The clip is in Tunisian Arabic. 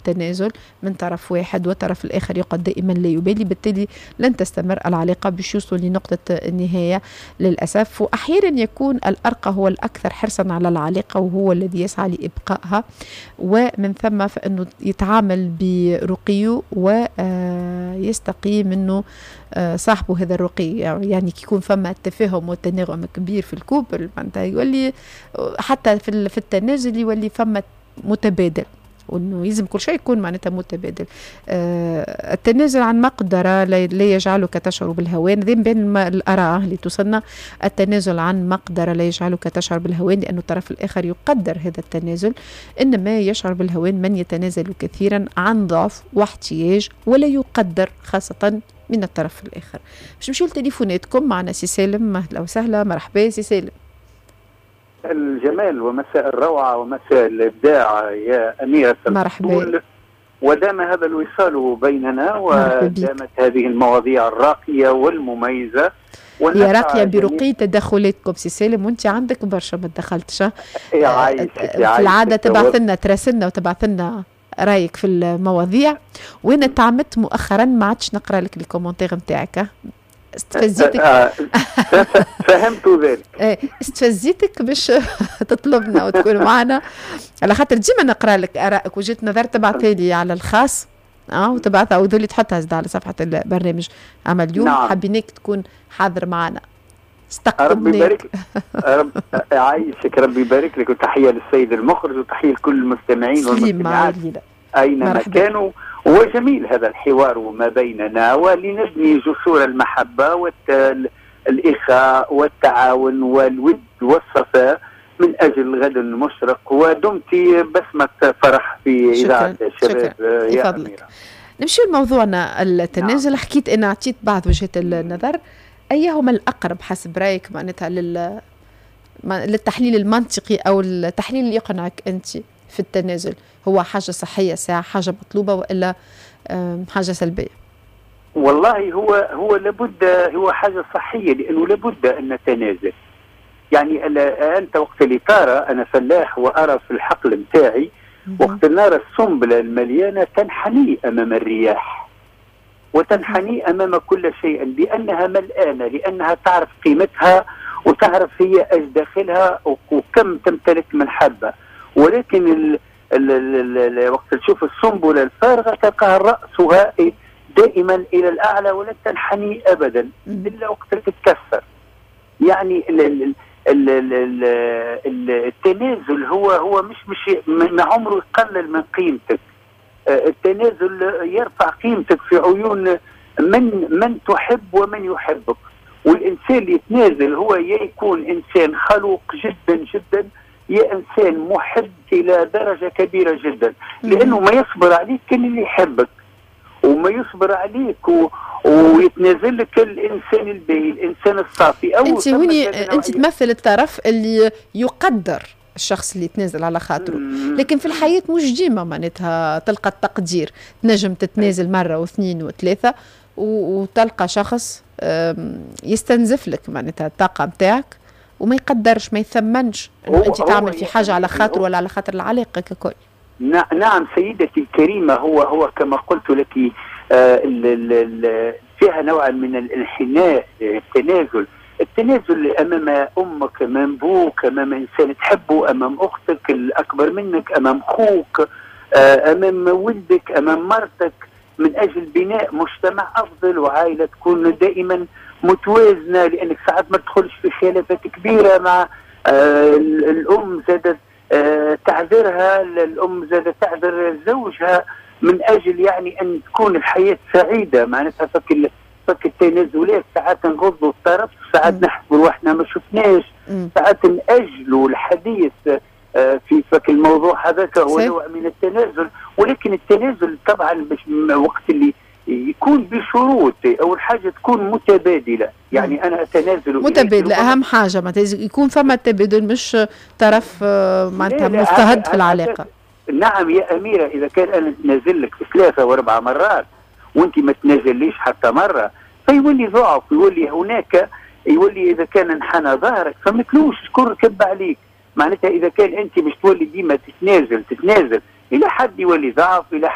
التنازل من طرف واحد والطرف الآخر يقعد دائما لا يبالي، بالتالي لن تستمر العلاقة باش يوصلوا لنقطة النهاية للأسف. وأحيانا يكون الأرقى هو الأكثر حرصا على العلاقة وهو الذي يسعى لإبقائها، ومن ثم فإنه يتعامل برقية ويستقي منه صاحبه هذا الرقي. يعني كي يكون فما تفاهم وتناغم كبير في ال couple معناتها يولي حتى في التنازل يولي فما متبادل، وانه يلزم كل شيء يكون معناتها متبادل. التنازل عن مقدره لا يجعلك تشعر بالهوان، ذي بين الاراء اللي توصلنا. التنازل عن مقدره لا يجعلك تشعر بالهوان لأن الطرف الاخر يقدر هذا التنازل، انما يشعر بالهوان من يتنازل كثيرا عن ضعف واحتياج ولا يقدر خاصة من الطرف الاخر. باش نمشيو لتليفوناتكم، معنا سي سالم، اهلا وسهلا، مرحبا سي سالم. الجمال ومساء الروعة ومساء الإبداع يا أميرة. مرحبا. ودام هذا الوصال بيننا ودامت هذه المواضيع الراقية والمميزة. هي راقية برقي تدخلاتكم سي سالم، وانت عندك برشا ما تدخلتش. في العادة تبعث لنا، تراسلنا وتبعث لنا رايك في المواضيع، وانا تعمدت مؤخرا ما عادش نقرا لك les commentaires نتاعك. استفزيتك. فهمت ذلك. إيه، استفزيتك باش تطلبنا وتكون معنا، على خاطر ديما نقرا لك ارائك وجهه نظر تبعثها لي على الخاص وتبعثها وذولي تحطها زاد على صفحة البرنامج. اما اليوم نعم. حبيناك تكون حاضر معنا. ربي يبارك، رب يعيشك، ربي يبارك لك، وتحية للسيد المخرج وتحية لكل المستمعين والمستمعات اينما كانوا. وجميل هذا الحوار ما بيننا، ولنبني جسور المحبة والإخاء والتعاون والود والصفاء من أجل غد مشرق. ودمت بسمة فرح في إذاعة الشباب يا أميرة. نمشي لموضوعنا التنازل. نعم. حكيت أنا أعطيت بعض وجهات النظر، أيهما الأقرب حسب رأيك معناتها للتحليل المنطقي أو التحليل اللي يقنعك أنت في التنازل؟ هو حاجة صحية ساعة، حاجة مطلوبة، وإلا حاجة سلبية؟ والله هو لابد، هو حاجة صحية، لأنه لابد أن نتنازل. يعني أنت وقت اللي ترى، أنا فلاح وأرى في الحقل متاعي وقت نرى السنبلة المليانة تنحني أمام الرياح وتنحني أمام كل شيء، لأنها ملآنة، لأنها تعرف قيمتها وتعرف هي ايش داخلها وكم تمتلك من حبة. ولكن ال ال ال ال وقت تشوف السنبله الفارغة تلقاها راسها دائما الى الاعلى ولا تنحني ابدا الا وقت تتكسر. يعني ال ال ال ال ال التنازل هو مش ما عمره يقلل من قيمتك. التنازل يرفع قيمتك في عيون من تحب ومن يحبك. والانسان اللي يتنازل هو يا يكون انسان خلوق جدا جدا، يا انسان محب الى درجه كبيرة جدا، لانه ما يصبر عليك كان اللي يحبك، وما يصبر عليك ويتنازل لك الانسان الباهي، الانسان الصافي. او انت هوني انت تمثل الطرف اللي يقدر الشخص اللي يتنازل على خاطره، لكن في الحياة مش ديما معناتها تلقى التقدير. تنجم تتنازل مرة واثنين وثلاثة وتلقى شخص يستنزف لك معناتها الطاقة نتاعك وما يقدرش، ما يثمنش انه انت تعمل في حاجة على خاطر ولا على خاطر العلاقة ككل. نعم سيدتي الكريمة، هو كما قلت لك فيها نوع من الانحناء. التنازل امام امك، امام ابوك، امام انسان تحبه، امام اختك الاكبر منك، امام اخوك، امام ولدك، امام مرتك، من اجل بناء مجتمع افضل وعائلة تكون دائما متوازنة. لانك ساعات ما تدخلش في خلافات كبيرة مع الام، زادت تعذرها الام، زادت تعذر زوجها، من اجل يعني ان تكون الحياة سعيدة. معناتها فك التنازلات ساعات نغضوا الطرف، ساعات نحسبوا روحنا ما شفناش، ساعات ناجلوا الحديث في فك الموضوع هذاك، هو نوع من التنازل. ولكن التنازل طبعا باش وقت اللي يكون بشروط، اول حاجة تكون متبادلة، يعني انا اتنازل متبادلة، اهم حاجة معناتها يكون فما تبادل، مش طرف معناتها مضطهد في العلاقة. نعم يا اميره، اذا كان انا نتنازل لك 3 و4 مرات وانت ما تنازليش حتى مرة، فيولي ضعف، يولي هناك، يولي اذا كان انحنى ظهرك فمثلوش شكون ركب عليك. معناتها اذا كان انت باش تولي ديما تتنازل الى حد يولي ضعف، الى